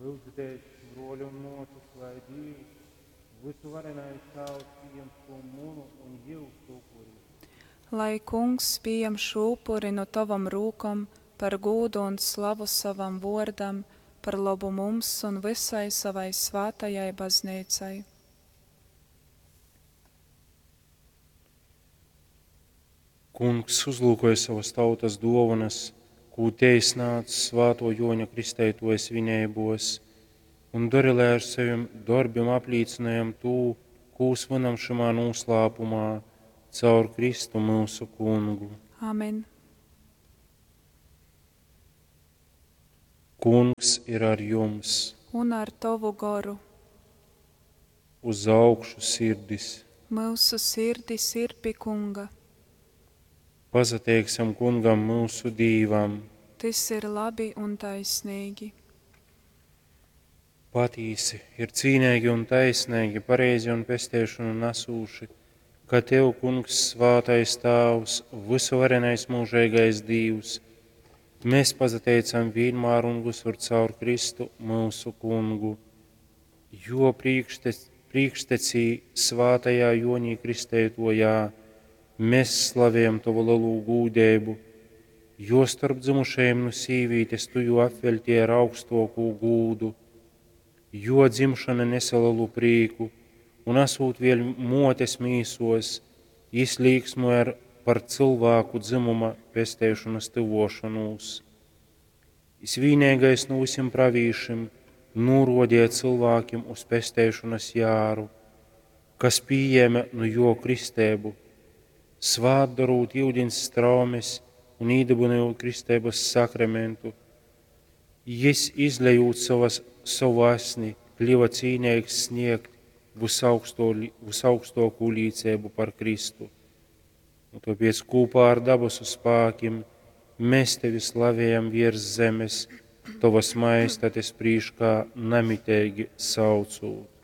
Lyudzitēs, bruoli un muosys, lai Dīvs, Vysuvarenais Tāvs, pījam šū munu un jyusu upuri. Lai Kungs pījam šū upuri nu tovom rūkom par gūdu un slavu sovam vōrdam, par lobu mums un vysai sovai svātajai Bazneicai. Kungs uzlūkoj sovas tautas dōvonas, kū tei snādz svātō Jōņa Kristeitōja svineibōs, un dori, lai ar sovim dorbim aplīcynojam tū, kū svynam šymā nūslāpumā, caur Kristu myusu Kungu. Amen. Kungs ir ar jums! Un ar tovu goru. Uz augšu sirdis! Myusu sirdis ir pi Kunga. Pasateiksim Kungam, myusu Dīvam! Tys ir labi un taisneigi. Patīsi, ir cīneigi un taisneigi, pareizi un pesteišonu nasūši, ka Tev, Kungs, svātais Tāvs, vysuvarenais myužeigais Dīvs, mēs pasateicam vīnmār un vysur caur Kristu, myusu Kungu. Jo priekštecī svātajā Jonī Kristeitojā mēs slavējam Tovu lelū gūdeibu, jo starp dzymušajim nu sīvītes Tu jū apveļtīji ar augstōkū gūdu. Jo dzimšana nese lelu prīku, un asūt vēļ mōtes mīsos, jis līksmoja par cylvāku dzymuma pesteišonas tyvōšonūs. Jis vīneigais nu vysim pravīšim nūrōdeja cylvākim uz pesteišonas jāru, kas pījēme nu jō kristeibu, svātdorūt yudins straumes un īdybynojūt kristeibas sakramentu. Jis, izlejūt sovu asni, kļiva cīneigs sniegt vysaugstōkū līceibu par Kristu. Un tāpēc kopā ar dabasu spākim mēs tevi slavējam virs zemes, tovas majestates prīškā namiteigi saucūt.